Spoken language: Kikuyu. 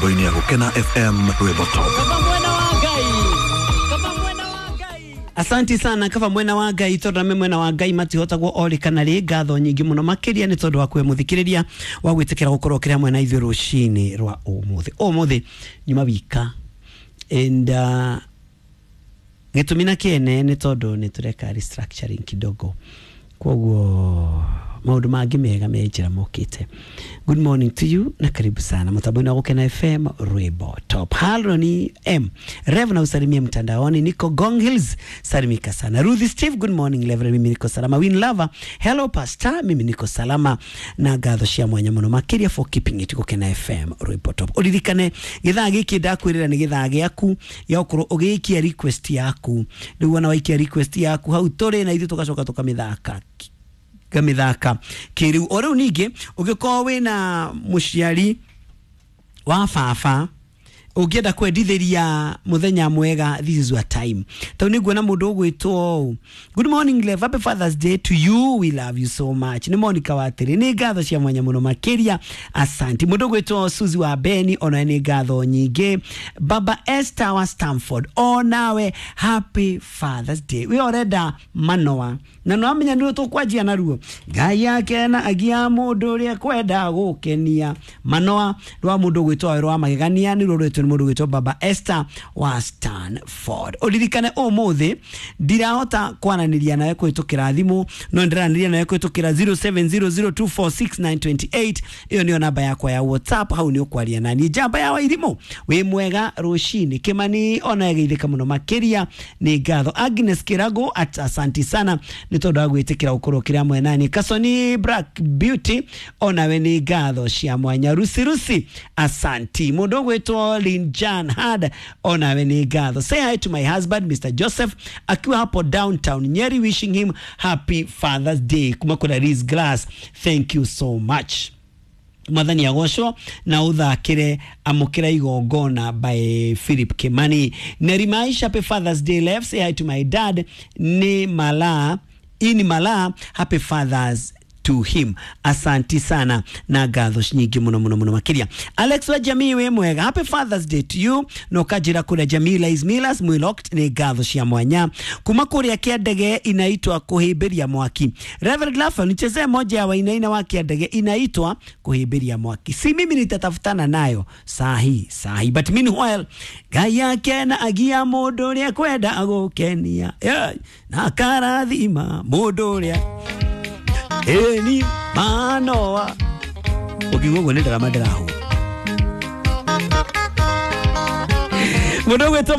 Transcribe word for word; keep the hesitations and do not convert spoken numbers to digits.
Mĩtambo-inĩ ya Gũkena F M Rwĩmbo Top. Asanti sana kaba mwena wa Ngai tondu ame mwena wa Ngai matihotagwo ori kana ri ngatho nyingi muno makiria ni tondu wa kwe muthikiriria wa gwitikira gukorwo kiri hamwe na ithuĩ rucini rwa umuthi umuthi nyuma wika and uh, gitumi na kiene ni tondu ni tureka restructuring kidogo koguo maundu mangi mega me njira mokite. Good morning to you na karibu sana mutambo-inĩ wa Gũkena F M Rwĩmbo Top. Haroni M Rev na usalimie mtandaoni, niko Gong Hills, salimika sana. Ruth Steve, good morning Rev, mimi niko salama. Win Lover, hello pastor, mimi niko salama na ngatho cia mwanya muno makiria for keeping it Gũkena F M Rwĩmbo Top. Uririkane githaa giki ndakwirira ni githaa giaku ya ukorwo ugiikia request yaku, riu ona waikia request yaku hau turi na ithuĩ tugacoka tukamithaka gamithaka kiriu. O riu ningi ungikorwo wina muciari wa baba ungienda kwendithiria muthenya mwega, this is your time. Tau ni nguona mundu ugwitwo good morning Lev, happy Father's Day to you, we love you so much. Ni Monica Watiri, ni ngatho cia mwanya muno makiria, asanti. Mundu ugwitwo Suzy wa Beni, ona ni ngatho nyingi. Baba Esther wa Stamford, onawe happy Father's Day. We orenda manoa na no amenya ni tukwanjia naruo Ngai akena agia mundu uria kwenda gukenia. Manoa rwa mundu ugwitwo rwa magegania ni rwo ni mundu gwitwo Baba Esther wa Stanford. Uririkane umuthi ndirahota kwananiria nawe kwitukira thimu, no ndiraniria nawe kwitukira zero seven zero zero two four six nine two eight. Iyo niyo namba yakwa ya WhatsApp, hau ni ukwaria nani. Njamba ya Wairimu wi mwega rucini Kimani ona geithika muno makiria ni ngatho. Agnes Kirago at asanti sana ni tondu wa gwitikira ukorwo kiri hamwe nani. Kasoni Black Beauty onawe ni ngatho cia mwanya. Rusi Rusi asanti. Mundu gwitwo Linjan Hard onawe ni ngatho. Say hi to my husband Mister Joseph akiwa hapo downtown Nyeri, wishing him happy Father's Day. Kuma kuna Liz Glass, thank you so much. Mwathani agocwo na uthakire amukira igongona by Philip Kimani. Nerimaisha happy Father's Day left. Say hi to my dad ni Mala ini Mala, happy Father's to him. Asanti sana na ngatho nyingi muno muno muno makiria. Alex wa jamii we mwega, happy Father's Day to you. No kajira kule Jamila Ismilas Mwilocked ni ngatho cia mwanya. Kuma kuria kia ndege inaitwa kuhimbiria mwaki. Reverend Lafa, nichezee moja ya wainaina wa kia ndege inaitwa kuhimbiria mwaki. Si mimi nitatafutana nayo sahi sahi, but meanwhile Ngai akena agia mundu uria kwenda agukenia, yeah, na karathima mundu uria eni manoa. Ukiuga uguo ni ndarama ndĩrahũra. Mũndũ ũgwĩtwo